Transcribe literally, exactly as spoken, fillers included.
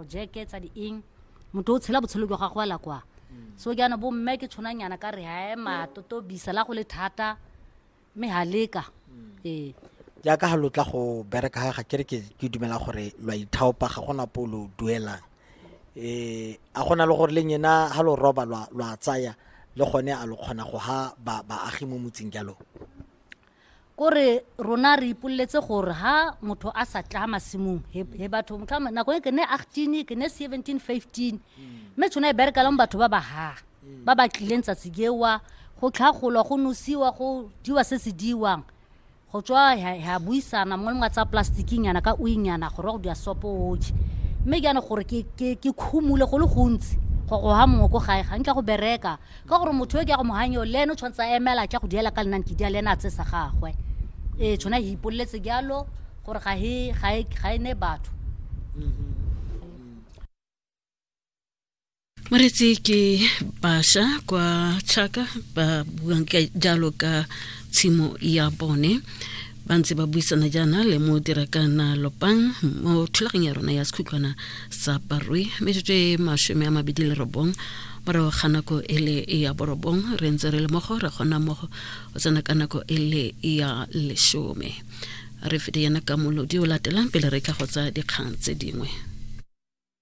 diporojeke tsa di eng motho o tshela botshelo jwa gagwe la kwa so jaanong bo mme ke tshwananyana ka re ha ema totobisa la go le thata mme ha leka ee jaaka ga lo tla go bereka ga ga kere ke ke dumela gore lo a ithaopa ga gona po lo duelang um a gona le gore le nyena ga lo roba lwa lwa tsaya le gone a lo kgona go ha ba baagi mo motseng jalo kore rona re ipoleletse gore ha motho a sa tla masimong he he batho motlha nako e ke ne eighteen ke ne seventeen fifteen mme tshwana e berekelang batho ba ba ha ba ba tlileng tsatsi gewa go tlhagolwa go nosiwa go diwa se se diwang go tswa ha buisana mongwe le mongwe a tsaya plasticnyana ka oinyana gore go dia sopo oje mme jaanong gore ke ke ke khumule go le gontsi go go ha mongwe ko gae ga nkitla go bereka ka gore motho yo ke ya go mo hang eo le ene o tshwanetse a emela tla go diela ka lenane ke dia le ene a tse sa gagwe ee tshwana e ipoleletse jalo gore ga e ga e ga e ne batho Moretsi ke bašwa kwa Chaka ba buang ka jalo ka tshimo ya bone ba ntse ba buisana jaana le mo dirakana lopang mo thulaganyo ya rona ya sekhutlwana sa barui metsotso e masome a mabedi le robong morago ga nako e le ya borobong re ntse re le mmogo re gona mmogo o tsena ka nako e le ya lesome re fete yana ka molodi o latelang pele re tla go tsa dikgang tse dingwe.